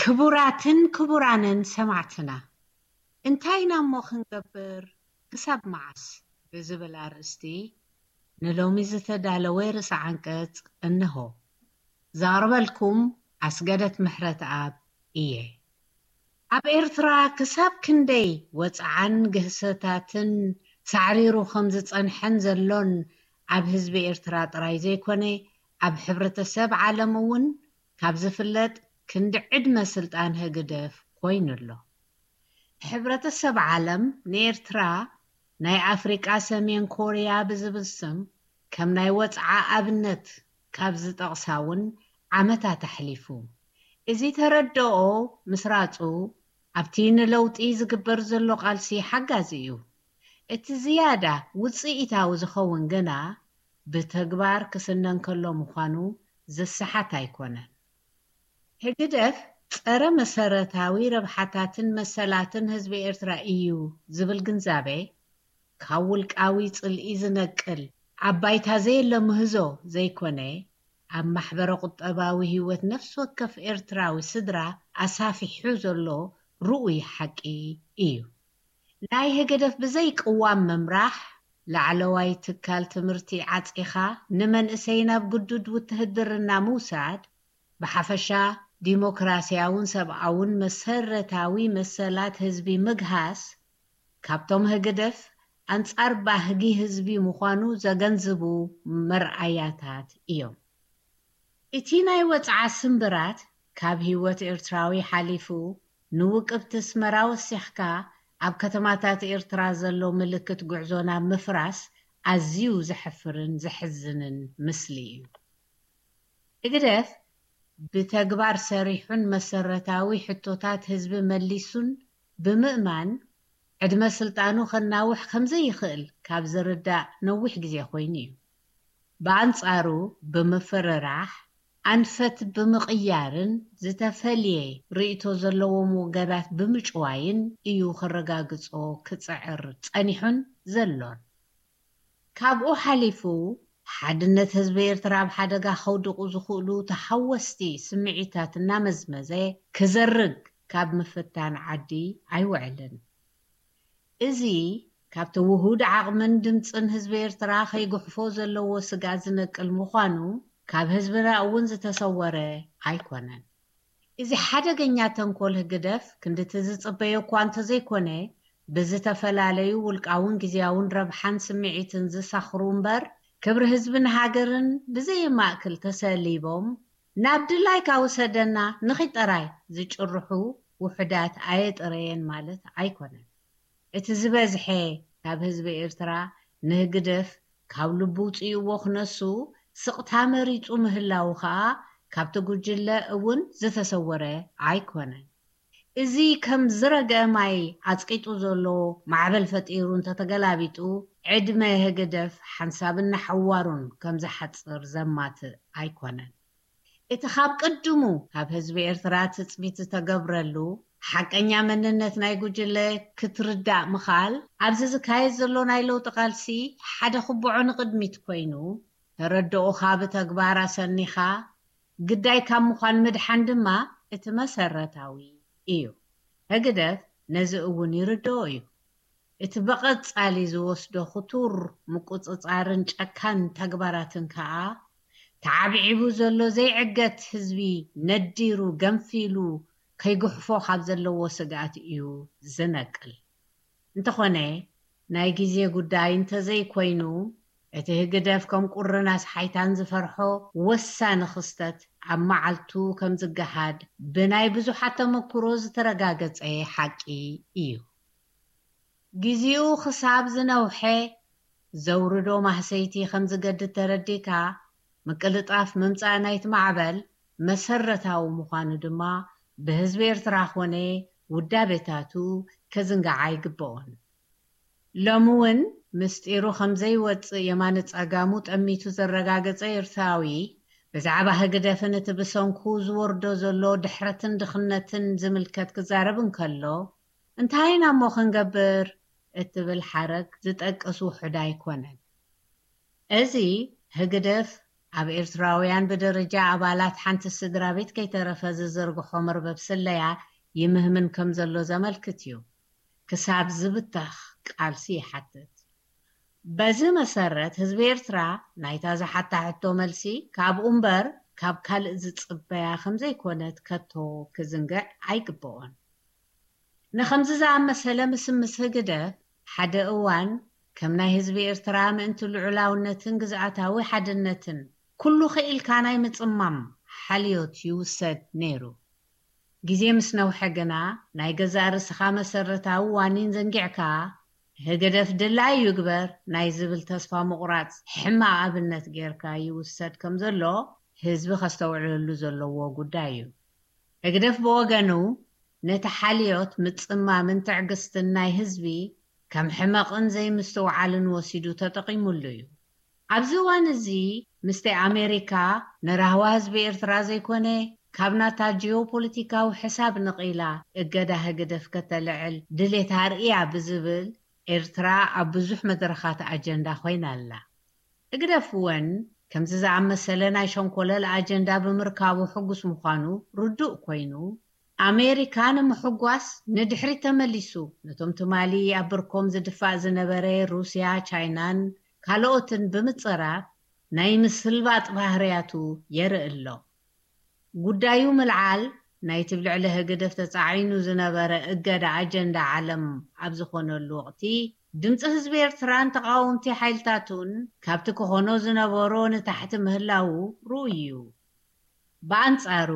ክቡራትን ክቡራንን ሰማዕትና፣ እንታይ ኢና እሞ ክንገብር፣ ክሳብ መዓስ ብዝብል ኣርእስቲ ንሎሚ ዝተዳለወ ርእሰ ዓንቀጽ እንሆ። ዘቕርበልኩም ኣስገደት ምሕረተኣብ እየ። ኣብ ኤርትራ ክሳብ ክንደይ ወጽዓን ግህሰታትን ሳዕሪሩ ከም ዝጸንሐን ዘሎን ኣብ ህዝቢ ኤርትራ ጥራይ ዘይኮነ፣ ኣብ ሕብረተሰብ ዓለም እውን ካብ ዝፍለጥ ክንዲ ዕድመ ስልጣን ህግደፍ ኮይኑ ኣሎ። ሕብረተሰብ ዓለም ንኤርትራ ናይ ኣፍሪቃ ሰሜን ኮርያ ብዝብል ስም ከም ናይ ወጽዓ ኣብነት ካብ ዝጠቕሳ እውን ዓመታት ኣሕሊፉ። እዚ ተረድኦ ምስራጹ ኣብቲ ንለውጢ ዝግበር ዘሎ ቃልሲ ሓጋዚ እዩ። እቲ ዝያዳ ውጽኢታዊ ዝኸውን ግና ብተግባር ክስነ እንከሎ ምዃኑ ዝሰሓት ኣይኮነን። ህግደፍ ጸረ መሰረታዊ ረብሓታትን መሰላትን ህዝቢ ኤርትራ እዩ ዝብል ግንዛቤ ካብ ውልቃዊ ጽልኢ ዝነቅል፣ ኣብ ባይታ ዘየለ ምህዞ ዘይኮነ፣ ኣብ ማሕበረ ቁጠባዊ ህይወት ነፍሲ ወከፍ ኤርትራዊ ስድራ ኣሳፊሑ ዘሎ ርኡይ ሓቂ እዩ። ናይ ህግደፍ ብዘይ ቅዋም ምምራሕ፣ ላዕለዋይ ትካል ትምህርቲ ዓጺኻ ንመንእሰይ ናብ ግዱድ ውትህድርና ምውሳድ፣ ብሓፈሻ ዲሞክራስያውን ሰብኣውን መሰረታዊ መሰላት ህዝቢ ምግሃስ፣ ካብቶም ህግደፍ ኣንጻር ባህጊ ህዝቢ ምዃኑ ዘገንዝቡ መርኣያታት እዮም። እቲ ናይ ወጽዓ ስምብራት ካብ ህይወት ኤርትራዊ ሓሊፉ ንውቅብቲ ኣስመራ ወሲኽካ ኣብ ከተማታት ኤርትራ ዘሎ ምልክት ጉዕዞ ናብ ምፍራስ ኣዝዩ ዘሕፍርን ዘሕዝንን ምስሊ እዩ። ህግደፍ ብተግባር ሰሪሑን መሰረታዊ ሕቶታት ህዝቢ መሊሱን ብምእማን ዕድመ ስልጣኑ ከናውሕ ከም ዘይኽእል ካብ ዝርዳእ ነዊሕ ግዜ ኮይኑ እዩ። ብኣንጻሩ ብምፍርራሕ፣ ኣንፈት ብምቕያርን ዝተፈልየ ርእይቶ ዘለዎም ወገናት ብምጭዋይን እዩ ከረጋግጾ ክጽዕር ጸኒሑን ዘሎን። ካብኡ ሓሊፉ ሓድነት ህዝቢ ኤርትራ ኣብ ሓደጋ ከውድቑ ዝኽእሉ ተሓወስቲ ስምዒታት እናመዝመዘ ክዘርግ ካብ ምፍታን ዓዲ ኣይውዕልን። እዚ ካብቲ ውሁድ ዓቕምን ድምጽን ህዝቢ ኤርትራ ከይጉሕፎ ዘለዎ ስግኣት ዝነቅል ምዃኑ ካብ ህዝብና እውን ዝተሰወረ ኣይኮነን። እዚ ሓደገኛ ተንኮል ህግደፍ ክንድቲ ዝጽበዮ እኳ እንተዘይኮነ፣ ብዝተፈላለዩ ውልቃውን ግዝያውን ረብሓን ስምዒትን ዝሳኽሩ እምበር፣ ክብሪ ህዝብን ሃገርን ብዘየማእክል ተሰሊቦም፣ ናብ ድላይካ ውሰደና ንኺድ ጥራይ ዝጭርሑ ውሑዳት ኣየጥረየን ማለት ኣይኮነን። እቲ ዝበዝሐ ካብ ህዝቢ ኤርትራ ንህግደፍ ካብ ልቡ ውጽእዎ ክነሱ ስቕታ መሪጹ ምህላዉ ከኣ ካብቲ ጉጅለ እውን ዝተሰወረ ኣይኮነን። እዚ ከም ዝረግአ ማይ ኣጽቂጡ ዘሎ ማዕበል ፈጢሩ እንተተገላቢጡ፣ ዕድመ ህግደፍ ሓንሳብን ንሓዋሩን ከም ዝሓጽር ዘማትእ ኣይኮነን። እቲ ካብ ቅድሙ ካብ ህዝቢ ኤርትራ ትጽቢት ዝተገብረሉ ሓቀኛ መንነት ናይ ጉጅለ ክትርዳእ ምኻል፣ ኣብዚ ዝካየድ ዘሎ ናይ ለውጢ ቃልሲ ሓደ ክብዖ ንቕድሚት ኮይኑ፣ ተረድኦኻ ብተግባር ኣሰኒኻ ግዳይ ካብ ምዃን ምድሓን ድማ እቲ መሰረታዊ እዩ። ህግደፍ ነዚ እውን ይርድኦ እዩ። እቲ ብቐጻሊ ዝወስዶ ክቱር ምቁጽጻርን ጨካን ተግባራትን ከኣ፣ ተዓብዒቡ ዘሎ ዘይዕገት ህዝቢ ነዲሩ ገንፊሉ ከይጉሕፎ ካብ ዘለዎ ስግኣት እዩ ዝነቅል። እንተኾነ፣ ናይ ግዜ ጉዳይ እንተዘይኮይኑ፣ እቲ ህግደፍ ከም ቁርን ኣስሓይታን ዝፈርሖ ወሳኒ ክስተት ኣብ መዓልቱ ከም ዝገሃድ ብናይ ብዙሓት ተመክሮ ዝተረጋገጸ ሓቂ እዩ። ግዜኡ ክሳብ ዝነውሐ ዘውርዶ ማህሰይቲ ከም ዝገድድ ተረዲእካ፣ ምቅልጣፍ ምምጻእ ናይቲ ማዕበል መሰረታዊ ምዃኑ ድማ ብህዝቢ ኤርትራ ኮነ ውዳቤታቱ ከዝንጋዓ ኣይግበኦን። ሎሚ እውን ምስጢሩ ከም ዘይወጽእ የማነ ጸጋሙ ጠሚቱ ዘረጋገጸ ኤርትራዊ፣ ብዛዕባ ህግደፍን እቲ ብሰንኩ ዝወርዶ ዘሎ ድሕረትን ድኽነትን ዝምልከት ክዛረብ እንከሎ፣ እንታይ ኢና እሞ ክንገብር እትብል ሓረግ ዝጠቅስ ውሑድ ኣይኮነን። እዚ ህግደፍ ኣብ ኤርትራውያን ብደረጃ ኣባላት ሓንቲ ስድራ ቤት ከይተረፈ ዝዝርግሖ መርበብ ስለያ ይምህምን ከም ዘሎ ዘመልክት እዩ። ክሳብ ዝብተኽ ቃልሲ ይሓትት። በዚ መሰረት ህዝቢ ኤርትራ ናይታ ዝሓታ ሕቶ መልሲ ካብኡ እምበር ካብ ካልእ ዝጽበያ ከም ዘይኮነት ከቶ ክዝንግዕ ኣይግብኦን። ንኸምዚ ዝኣመሰለ ምስምስ ህግደፍ ሓደ እዋን ከም ናይ ህዝቢ ኤርትራ ምእንቲ ልዑላውነትን ግዝኣታዊ ሓድነትን ኩሉ ክኢልካ ናይ ምጽማም ሓልዮት ይውሰድ ነይሩ። ግዜ ምስ ነውሐ ግና ናይ ገዛእ ርእስኻ መሰረታዊ ዋኒን ዘንጊዕካ ህግደፍ ድላዩ ይግበር ናይ ዝብል ተስፋ ምቑራጽ ሕማቕ ኣብነት ጌርካ ይውሰድ ከም ዘሎ ህዝቢ ከስተውዕለሉ ዘለዎ ጉዳይ እዩ። ህግደፍ ብወገኑ ነቲ ሓልዮት ምጽማምን ትዕግስትን ናይ ህዝቢ ከም ሕመቕን ዘይምስትውዓልን ወሲዱ ተጠቒሙሉ እዩ። ኣብዚ እዋን እዚ ምስቲ ኣሜሪካ ንራህዋ ህዝቢ ኤርትራ ዘይኮነ ካብ ናታ ጂኦፖለቲካዊ ሕሳብ ንቕኢላ እገዳ ህግደፍ ከተልዕል ድሌት ኣርእያ ብዝብል ኤርትራ ኣብ ብዙሕ መድረኻት ኣጀንዳ ኮይና ኣላ። ህግደፍ እውን ከምዚ ዝኣመሰለ ናይ ሸንኮለል ኣጀንዳ ብምርካቡ ሕጉስ ምዃኑ ርዱእ ኮይኑ ኣሜሪካ ንምሕጓስ ንድሕሪት ተመሊሱ ነቶም ትማሊ ኣብ ብርኮም ዝድፋእ ዝነበረ ሩስያ፣ ቻይናን ካልኦትን ብምጽራፍ ናይ ምስልባጥ ባህርያቱ የርኢ ኣሎ። ጉዳዩ ምልዓል ናይቲ ብልዕሊ ህግደፍ ተጻዒኑ ዝነበረ እገዳ ኣጀንዳ ዓለም ኣብ ዝኾነሉ ወቕቲ ድምፂ ህዝቢ ኤርትራን ተቓወምቲ ሓይልታቱን ካብቲ ክኾኖ ዝነበሮ ንታሕቲ ምህላዉ ርኡይ እዩ። ብኣንጻሩ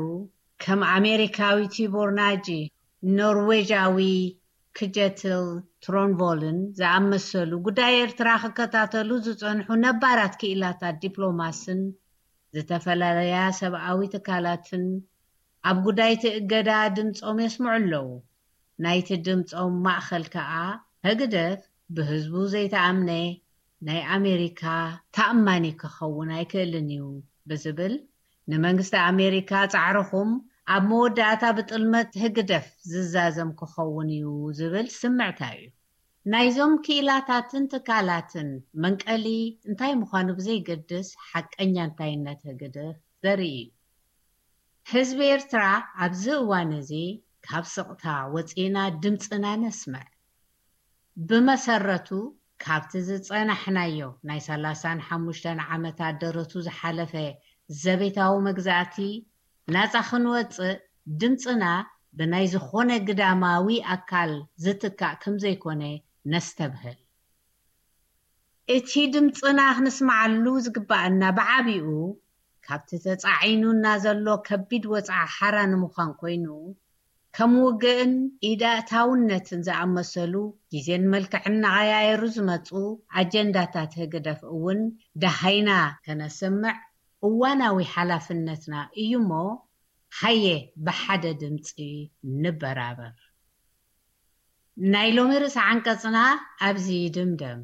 ከም ኣሜሪካዊ ቲቦር ናጂ፣ ኖርዌጃዊ ክጀትል ትሮንቮልን ዝኣመሰሉ ጉዳይ ኤርትራ ክከታተሉ ዝጸንሑ ነባራት ክኢላታት ዲፕሎማስን ዝተፈላለያ ሰብኣዊ ትካላትን ኣብ ጉዳይ እቲ እገዳ ድምጾም የስምዑ ኣለዉ። ናይቲ ድምጾም ማእኸል ከኣ ህግደፍ ብህዝቡ ዘይተኣምነ ናይ ኣሜሪካ ተኣማኒ ክኸውን ኣይክእልን እዩ ብዝብል ንመንግስቲ ኣሜሪካ ጻዕርኹም ኣብ መወዳእታ ብጥልመት ህግደፍ ዝዛዘም ክኸውን እዩ ዝብል ስምዕታ እዩ። ናይዞም ክኢላታትን ትካላትን መንቀሊ እንታይ ምዃኑ ብዘይገድስ ሓቀኛ እንታይነት ህግደፍ ዘርኢ እዩ። ህዝቢ ኤርትራ ኣብዚ እዋን እዚ ካብ ስቕታ ወፂና ድምፅና ነስምዕ። ብመሰረቱ ካብቲ ዝፀናሕናዮ ናይ ሰላሳን ሓሙሽተን ዓመታት ደረቱ ዝሓለፈ ዘቤታዊ መግዛእቲ ናፃ ክንወፅእ ድምፅና ብናይ ዝኾነ ግዳማዊ ኣካል ዝትካእ ከም ዘይኮነ ነስተብህል። እቲ ድምፅና ክንስምዓሉ ዝግባኣና ብዓቢኡ ካብቲ ተፃዒኑና ዘሎ ከቢድ ወፅዓ ሓራ ንምዃን ኮይኑ ከም ውግእን ኢዳእታውነትን ዝኣመሰሉ ግዜን መልክዕን እናቐያየሩ ዝመፁ ኣጀንዳታት ህግደፍ እውን ደሃይና ከነስምዕ እዋናዊ ሓላፍነትና እዩ እሞ ሃየ ብሓደ ድምፂ ንበራበር። ናይ ሎሚ ርእሰ ዓንቀጽና ኣብዚ ይድምደም።